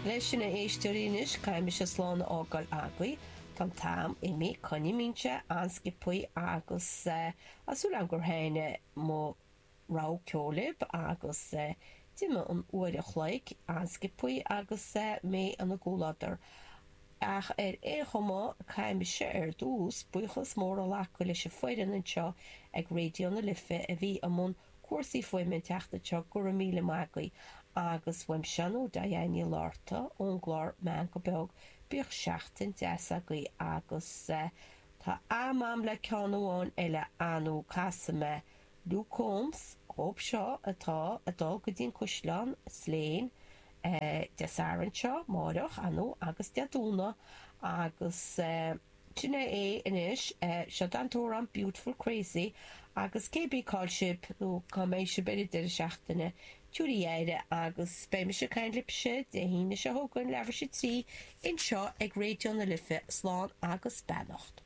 Leis sin a éisteoirí anois, caithfidh mise slán a fhágáil agaibh. Tá an t-am imithe, coinnímse an-sciobthaí agus tá súil agam gur thaitnigh mo rogha ceoil libh agus d'imigh an uair a chloig an-sciobthaí agus mé ina gcomhluadar. Ach ar aon chuma, caithfidh mise ar dtús buíochas mór a ghlacadh leis an foireann anseo ag Raidió na Life a bhí i mbun cúrsaí fuaime an tseachtain seo, go raibh míle maith agaibh. Agus uaimse nó Diane Ní Fhlatharta ón gclár Meangadh Beag, bíodh seachtain deas agaibh agus tá am a'm le ceann amháin eile nó casfaidh mé Luke Combs dhóibh seo atá ag dul go dtí an Caisleán Slane Dé Sathairn seo, máireach, nó agus Dé Domhnaigh agus. Sin é é anois. Seo an t-amhrán Beautiful Crazy agus cé bith cá'il sibh nó cá mbeidh sibh ar an deireadh seachtaine, tabhair aire agus beidh mise ag caint libhse Dé hAoine seo chugainn, leathuair tar éis a 3, anseo ag Raidió na Life. Slán agus beannacht.